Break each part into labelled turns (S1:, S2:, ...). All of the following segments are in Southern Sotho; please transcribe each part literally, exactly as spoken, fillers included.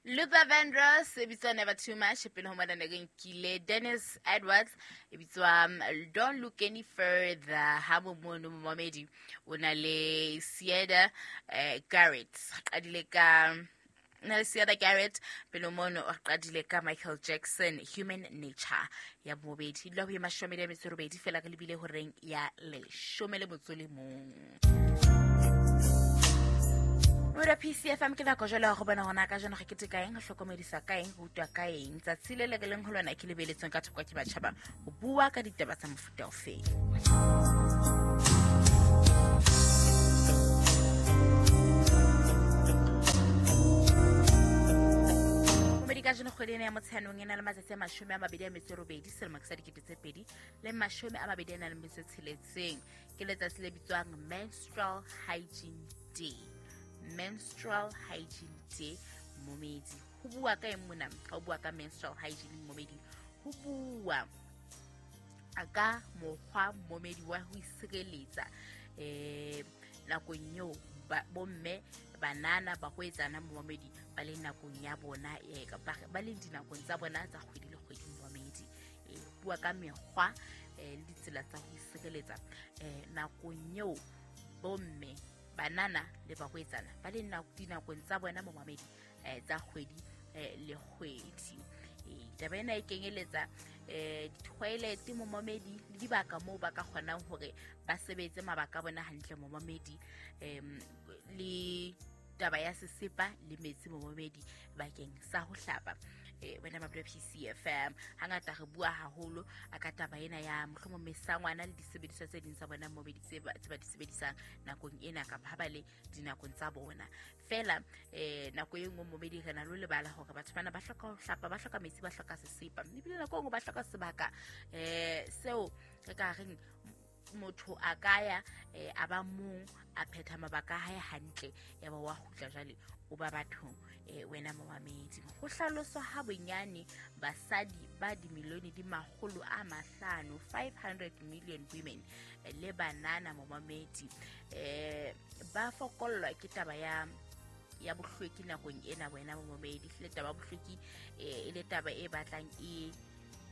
S1: Luther Vandross e bitswa Never Too Much. Pele ho mona ne re nkile Dennis Edwards e bitswa um, Don't Look Any Further. Ha mono momamedi o na le Sieda eh, Garrett, qadile ka na le Sieda Garrett. Pele mono o qadile ka Michael Jackson, Human Nature. Ya bobedi dula ho e mashome a metso e robedi fela re lebile horeng ya leshome le motso le mong. Mora P C F M ke nako jwale ya go bona hona ka jeno re keteka eng, re hlokomedisa ka eng, re utlwa ka eng. Tsatsi le le re leng ho lona ke lebeletsweng ka thoko ke batjhaba ho bua ka ditaba tsa mofuta ofe. Momedi ka jeno kgwedi ena ya Motsheanong e na le matsatsi a mashome a mabedi a metso e robedi selemo ke sa dikete tse pedi le mashome a mabedi a nang le metso e tsheletseng. Ke letsatsi le bitswang Menstrual Hygiene Day. Menstrual Hygiene Day momedi. Ho bua ka eng mona? Ha o bua ka menstrual hygiene momedi, ho bua ka mokgwa momedi wa ho isireletsa eh nakong eo bomme, banana, bahwetsana momedi ba le nakong ya bona, eh ba le dinakong tsa bona tsa kgwedi le kgwedi momedi. Eh bua ka mekgwa le ditsela tsa ho isireletsa eh nakong eo bomme, banana le bahwetsana ba le dinakong tsa bona momamedi eh tsa kgwedi le kgwedi. Eh taba ena e kenyeletsa eh di-toilet momamedi le dibaka moo ba ka kgonang hore ba sebetse mabaka a bona hantle momamedi, em le taba ya sesepa le metsi momamedi bakeng sa ho hlapa. Eh wena mabelo P C F M hangata re bua haholo ka taba ena ya mohlomong mesangwana le disebediswa tse ding tsa bona momedi tse ba di sebedisang nakong ena kapa ha ba le dinakong tsa bona. Fela eh nako e nngwe momedi re na le lebala hore batho bana ba hloka ho hlapa, ba hloka metsi, ba hloka sesepa, ebile nako e nngwe ba hloka sebaka eh seo re ka reng motho a ka ya a ba mong a phetha mabaka a hae hantle ya ba wa kgutla jwale o ba bathong. Eh wena momamedi, ho hlaloswa ha bonyane basadi ba dimilione di makgolo a mahlano, five hundred million women le banana momamedi eh ba fokollwa ke taba ya ya bohlweki nakong ena. Wena momamedi, le taba bohlweki e le taba e batlang e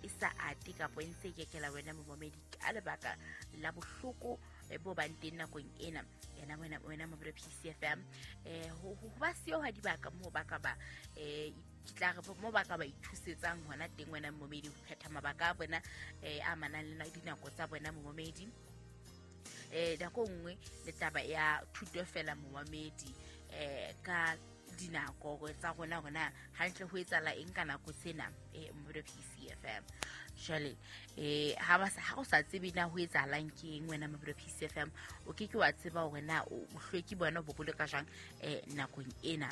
S1: e sa ate kapa e ntse e kekela wena momamedi ka lebaka la bohloko bo bang teng nakong ena. Ena wena wena mabelo P C F M eh ho ba siyo ha dibaka moo ba ka ba eh ke tla re mo ba ka ba ithusetsang hona teng wena momamedi ho phetha mabaka a bona eh a manang le dinako tsa bona momamedi. Eh nako nngwe le taba ya thuto fela momamedi eh ka dinako tsa rona rona hantle ho etsala eng ka nako tsena eh mobile P C F M. Jwale eh ha ba ha o sa tsebe na ho etsalang ke eng wena mobile P C F M, o ke ke wa tseba hore na o bohlweki bona bo boloka jwang eh nakong ena.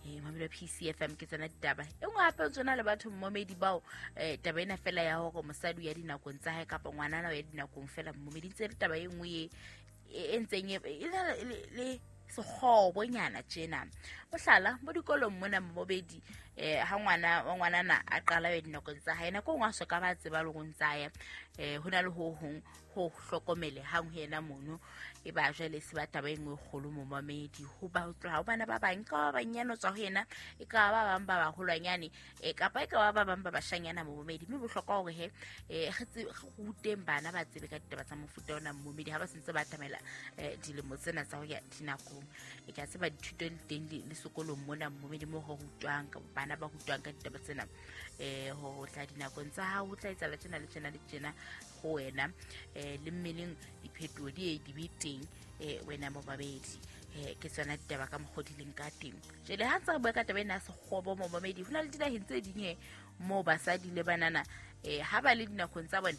S1: Eh mobile P C F M ke tsona ditaba. E nngwe hape tsona le batho momedi bao eh taba ena fela ya hore mosadi ya dinakong tsa hae kapa ngwanana ya dinakong fela momedi ntse le taba e nngwe e ntseng e le sekgobonyana tjena. Mohlala mo dikolong mona mobedi eh ha ngwana wa ngwanana a qala ya dinakong tsa hae nako nngwe a soka ba tseba le go ntsaya eh hona le ho hong ho hlokomele hang ho yena mono e ba jwale se ba taba e nngwe kgolo momamedi ho ba tloha bana ba bang ka ba banyane tswa ho yena e ka ba bang ba baholwanyane e kapa e ka ba ba bang ba bashanyana momamedi. Mme bohlokwa hore he eh re ruteng bana ba tsebe ka ditaba tsa mofuta ona momamedi ha ba sentse ba atamela dilemo tsena tsa ho ya dinakong. E ka tseba dithuto le teng le sekolong mona momedi mo ho rutwang ka bana ba rutwang ka ditaba tsena eh ho tla dinakong tsa hao ho tla etsahala tjena le tjena le tjena ho wena eh le mmeleng diphetoho di e di be teng eh wena momamedi. Eh ke tsona ditaba ka mokgwa di leng ka teng. Jwale ha ntse re bua ka taba ena ya sekgobo momamedi, ho na le dinaheng tse ding he moo basadi le banana eh ha ba le dinakong tsa bona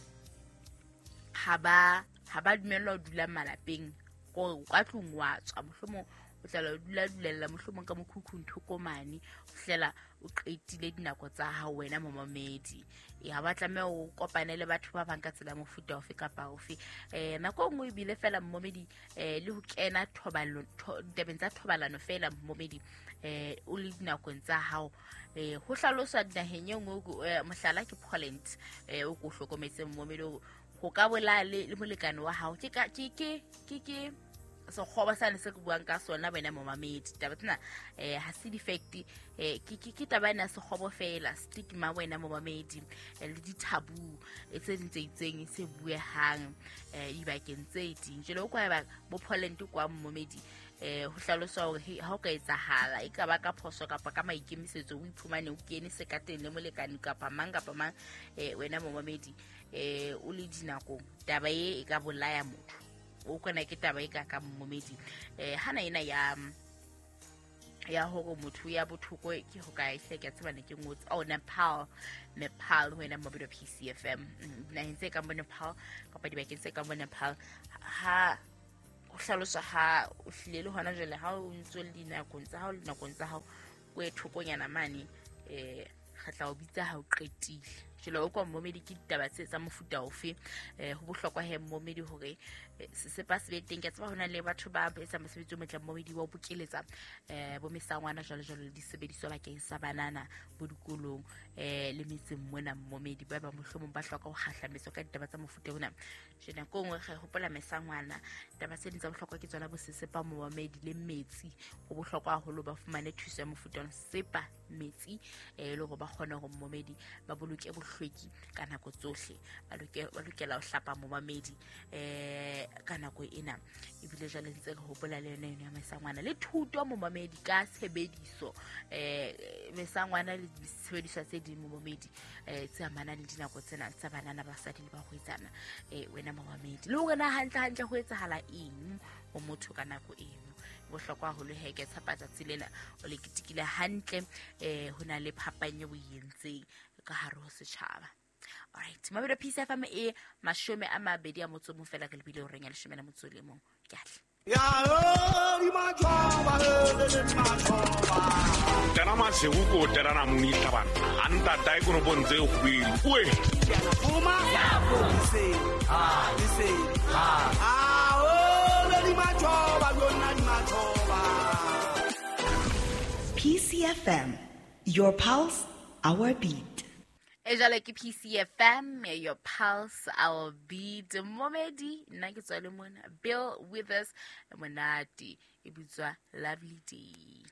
S1: ha ba ha ba dumellwa ho dula malapeng ko ka tlung wa tswa mohlomong o tla dula dulella mohlomong ka mokhukhung thoko mane o fihlela o qetile dinako tsa hao wena momamedi. E ha ba tlameha o kopane le batho ba bang ka tsela mofuta ofe kapa ofe. Eh nako nngwe ebile fela momamedi eh le ho kena thobalano ditabeng tsa thobalano fela momamedi eh o le dinakong tsa hao eh ho hlaloswa dinaheng e nngwe mohlala ke Poland eh o ko hlokometse momamedi ho ka bolaya le molekane wa hao ke ke ke ke ke Sekgoba sane se ke buang ka sona wena momamedi. Taba tsena eh ha se di-fact, eh ke ke ke taba ena sekgobo fela, stigma wena momamedi, le di-taboo tse ding tse itseng se buehang eh dibakeng tse ding. Jwale o kwa ba bo Poland kwa momamedi, eh ho hlaloswa hore ha o ka etsahala e ka ba ka phoso kapa ka maikemisetso o iphumane o kene sekateng le molekane kapa mang kapa mang, eh wena momamedi, eh o le dinakong, taba e e ka bolaya motho. O kona ke taba e ka ka momamedi. Eh hana ena ya ya hore motho ya bothoko ke ho kae hle ke tseba ne ke ngotse. Oh, Nepal, Nepal wena momamedi wa P C F M, naheng tse kang bo Nepal kapa dibakeng tse kang bo Nepal, ha ho hlaloswa ha o hlile le hona jwale ha o ntso le dinakong tsa hao le dinakong tsa hao o e thokonyana mane, eh re tla o bitsa ha o qetile. Jwale o kwa momedi ke ditaba tse tsa mofuta ofe? Eh ho bohlokwa he momedi hore sesepa se be teng. Ke tseba hona le batho ba etsang mosebetsi o motle momedi wa ho bokeletsa eh bo mesangwana jwalo jwalo le disebediswa bakeng sa banana bo dikolong eh le metseng mona momedi, ba ba mohlomong ba hloka ho kgahlametswa ka ditaba tsa mofuta ona. Jwale nako nngwe re hopola mesangwana, taba tse ding tsa bohlokwa ke tsona bo sesepa momedi le metsi. Ho bohlokwa haholo ba fumane thuso ya mofuta ona, sesepa, metsi, eh le hore ba kgone hore momedi ba boloke bohlweki ka nako tsohle. Ba lokela ho hlapa momamedi eh ka nako ena. Ebile jwale ntse re hopola le yona ya mesangwana le thuto momamedi ka tshebediso eh mesangwana le disebediswa tse ding momamedi eh tse amanang le dinako tsena tsa banana, basadi le bahwetsana. Eh wena momamedi, le hore na hantle hantle ho etsahala eng ho motho ka nako eno. Bohlokwa haholo he ke tshepa tsatsi lena o le ketekile hantle, eh ho na le phapang eo o e entseng ka hare ho setjhaba. Alright, mabelo P C F M e mashome a mabedi a motso mong fela re lebile horeng ya leshome le motso le mong. Ke atle.
S2: Tena masiku ko tena na muni tabana anta tai kono bonze hwili we
S3: P C F M, your pulse, our beat.
S1: E jwale ke P C F M, your pulse, our beat. Momedi, nna ke tswa le mona. Bill Withers, monate, e bitswa Lovely Day.